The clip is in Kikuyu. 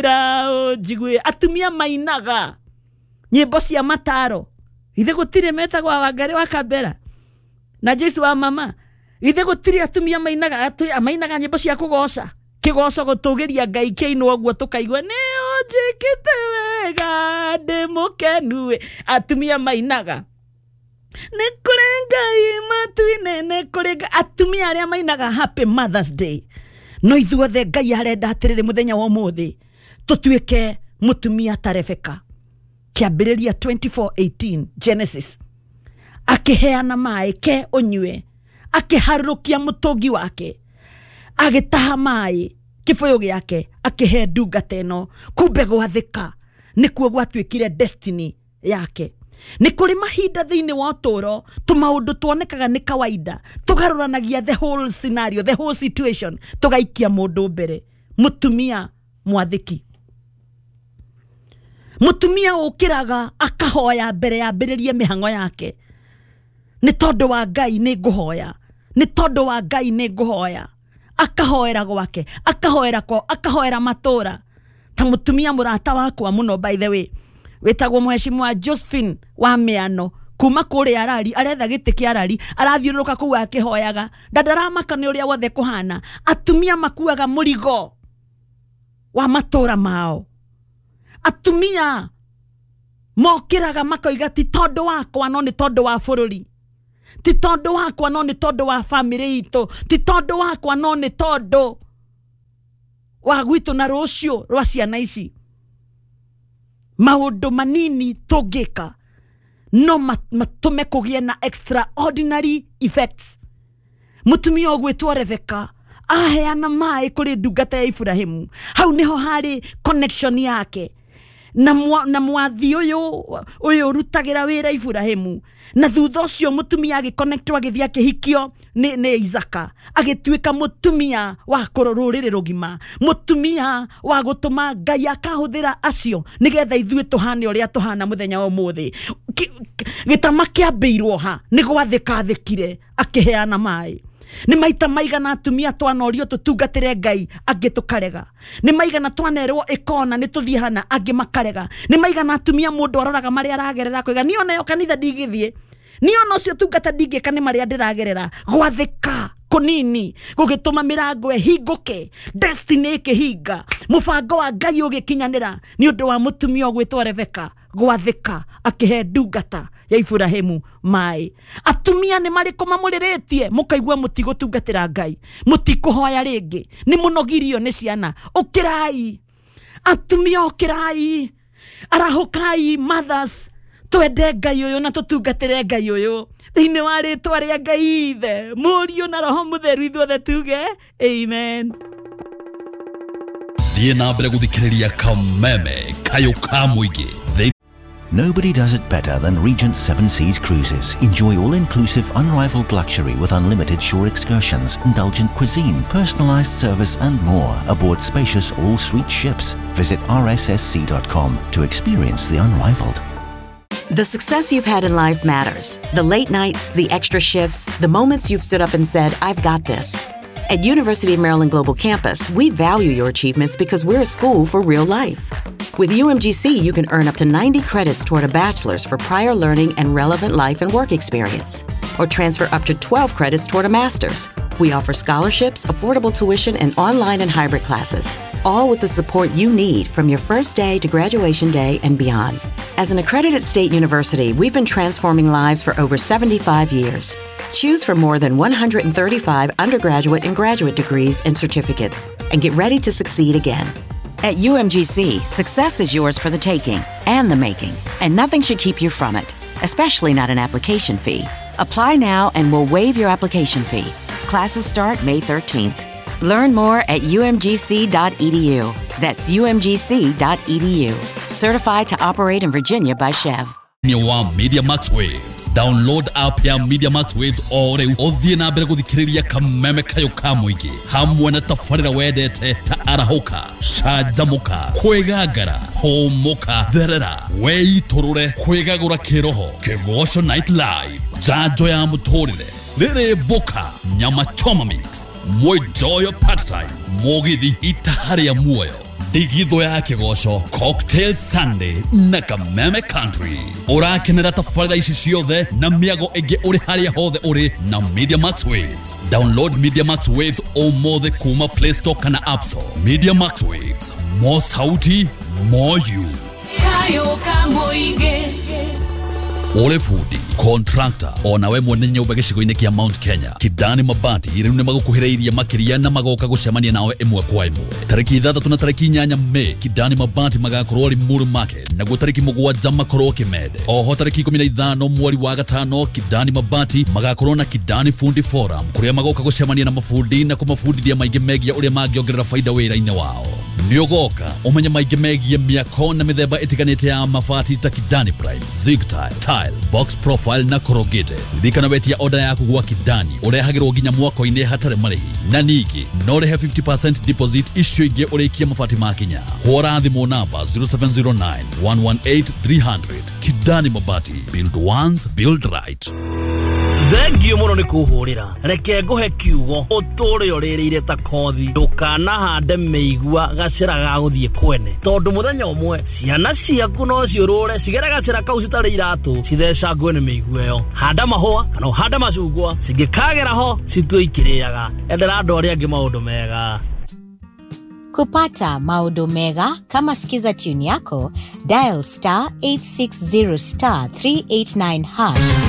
Njigue atumia mainaga nyĩmbo cia mataro. Ithe gũtirĩ metagwo Wangari wa Kambera na Jesu wa mama. Ithe gũtirĩ atumia mainaga mainaga nyĩmbo cia kũgoca kĩgoco gũtũgĩria Ngai kĩinwo ũguo tũkaigua nĩ ũnjĩkĩte wega ndĩ mũkenu. Atumia mainaga nĩ kũrĩ Ngai matu-inĩ, nĩ kũrĩ Ngai. Atumia arĩa mainaga Happy Mother's Day. No ithuothe Ngai arenda atĩrĩrĩ mũthenya wa ũmũthĩ tũtuĩke mũtumia ta Rebeka. Kĩambĩrĩria 24:18 Genesis, akĩheana maĩ ke ũnyue, akĩharũrũkia mũtũngi wake, agĩtaha maĩ kĩbũyũ gĩake akĩhe ndungata ĩno. Kumbe gwathĩka nĩkuo gwatuĩkire destiny yake. Nĩ kũrĩ mahinda thĩinĩ wa ũtũũro tũmaũndũ tuonekaga nĩ kawaida tũgarũranagia the whole scenario, the whole situation, tũgaikia mũndũ mbere. Mũtumia mwathĩki, mũtumia ũkĩraga akahoya mbere yambĩrĩrie mĩhang'o yake. Nĩ tondũ wa Ngai nĩ ngũhoya, nĩ tondũ wa Ngai nĩ ngũhoya. Akahoera gwake, akahoera kwao, akahoera matũra. Ta mũtumia mũrata wakwa mũno, by the way, wĩtagwo Mheshimiwa Josephine wa Mĩano kuma kũrĩa Arari, aretha gĩtĩ kĩa Arari, arathiũrũrũka kũu akĩhoyaga, ndandaramaka nĩ ũrĩa wothe kũhana. Atumia makuaga mũrigo wa matũra mao. Atumia mokĩraga makoiga ti tondũ wakwa no nĩ tondũ wa bũrũri, ti tondũ wakwa no nĩ tondũ wa bamĩrĩ itũ, ti tondũ wakwa no nĩ tondũ wa gwitũ na rũciũ rwa ciana ici. Maũndũ manini tũngĩka no matũme kũgĩe na extraordinary effects. Mũtumia ũgwĩtwo Rebeka aheana maĩ kũrĩ ndungata ya Ibrahimu. Hau nĩho harĩ connection yake na mwathi ũyũ ũrutagĩra wĩra Ibrahimu. Na thutha ũcio mũtumia agĩconnectwo agĩthiĩ akĩhikio nĩ Isaka, agĩtuĩka mũtumia wa rũrĩrĩ rũgima, mũtumia wa gũtũma Ngai akahũthĩra acio nĩgetha ithuĩ tũhane ũrĩa tũhana mũthenya wa ũmũthĩ. Gĩtama kĩambĩirwo ha nĩ gwathĩka athĩkire akĩheana maĩ. Nĩ maita maigana atumia twanorio tũtungatĩre Ngai angĩ tũkarega. Nĩ maigana twanerwo ĩkona nĩ tũthiĩ hana angĩ makarega. Nĩ maigana atumia mũndũ aroraga marĩa aragerera akoiga niĩ onayo kanitha ndingĩthiĩ, niĩ ona ũcio tungata ndingĩka nĩ marĩa ndĩragerera. Gwathĩka kũnini gũgĩtũma mĩrango ĩhingũke, destiny ĩkĩhinga, mũbango wa Ngai ũgĩkinyanĩra nĩ ũndũ wa mũtumia ũgwĩtwo Rebeka gwathĩka akĩhe ndungata ya Ibrahimu maĩ. Atumia nĩ marĩkũ mamũrĩrĩtie mũkaigua mũtigũtungatĩra Ngai, mũtikũhoya rĩngĩ, nĩ mũnogirio nĩ ciana. Ũkĩrai atumia, ũkĩrai, arahũkai mothers, twende Ngai ũyũ na tũtungatĩre Ngai ũyũ thĩinĩ wa rĩtwa rĩa Ngai Ithe, Mũriũ na Roho Mũtheru, ithuothe tuge amen. Thiĩ na mbere gũthikĩrĩria Kameme Kayũ ka Mũingĩ. Nobody does it better than Regent Seven Seas Cruises. Enjoy all-inclusive, unrivaled luxury with unlimited shore excursions, indulgent cuisine, personalized service and more aboard spacious all-suite ships. Visit rssc.com to experience the unrivaled. The success you've had in life matters. The late nights, the extra shifts, the moments you've stood up and said, I've got this. At University of Maryland Global Campus, we value your achievements because we're a school for real life. With UMGC, you can earn up to 90 credits toward a bachelor's for prior learning and relevant life and work experience, or transfer up to 12 credits toward a master's. We offer scholarships, affordable tuition, and online and hybrid classes, all with the support you need from your first day to graduation day and beyond. As an accredited state university, we've been transforming lives for over 75 years. Choose from more than 135 undergraduate and graduate degrees and certificates, and get ready to succeed again. At UMGC, success is yours for the taking and the making, and nothing should keep you from it, especially not an application fee. Apply now and we'll waive your application fee. Classes start May 13th. Learn more at umgc.edu. That's umgc.edu. Certified to operate in Virginia by Chev. Wa Media Max Waves. Download app ya Media Max Waves o rĩu ũthiĩ na mbere gũthikĩrĩria Kameme Kayũ ka Mũingĩ hamwe na tabarĩra wendete ta arahũka, canjamũka, kwĩgangara, hũmũka, therera, weitũrũre, kwĩgagũra kĩroho, Kĩgoco Night Live, njanjo ya mũtũrĩre, rĩrĩ mboka, nyama choma mix, mwenjoyo part time, mũgithi itaha rĩa muoyo, Ndigithũ ya kĩgoco, Cocktail Sunday na Kameme Country. Ũrakenera tabarĩra ici ciothe na mĩago ĩngĩ ũrĩ harĩa hothe ũrĩ na Media Max Waves. Download Media Max Waves ũmũthĩ kuma Play Store kana App Store. Media Max Waves, more sauti, more you. Kayo kamoige. Ũrĩ bundi, contractor, onawe mwene nyũmba gĩcigo-inĩ kĩa Mount Kenya, Kidani Mabati rĩu nĩ magũkuhĩrĩirie makĩria na magoka gũcemania nawe ĩmwe kwa ĩmwe. Tarĩki 6 na tarĩki 8 Mei, Kidani Mabati magakorwo Limuru Market, naguo tarĩki 7 makorwo Kimende. Oho tarĩki 15 mweri wa 5 Kidani Mabati magakorwo na Kidani Fundi Forum, kũrĩa magoka gũcemania na mabundi na kũmabundithia maingĩ megiĩ ũrĩa mangĩongerera faida wĩra-inĩ wao. Nĩ ũgoka ũmenye maingĩ megiĩ mĩako na mĩthemba ĩtiganĩte ya mabati ta Kidani Prime, Zig Tile, Tile, Box Profile na Corrugated. Ririkana wetia order yaku gwa Kidani ũrehagĩrwo nginya mwako-inĩ hatarĩ marĩhi, na ningĩ no ũrĩhe 50% deposit icio ingĩ ũrĩkie mabati makinya. Hũra thimũ namba 0709 118 300. Kidani Mabati, build once, build right. Thengio mũno nĩ kũhũrĩra. Reke ngũhe kiugo ũtũre ũrĩrĩire ta kothi. Ndũkanahande mĩigua gacĩra ga gũthiĩ kwene, tondũ mũthenya ũmwe ciana ciaku no ciũrũre cigere gacĩra kau citarĩ iratũ cithecangwe nĩ mĩigua ĩyo. Handa mahũa kana ũhande macungwa, cingĩkagera ho citue ikĩrĩaga. Endera andũ arĩa angĩ maũndũ mega. Kupata maodo mega kama Skiza tune yako, dial star 860 star 389 hash.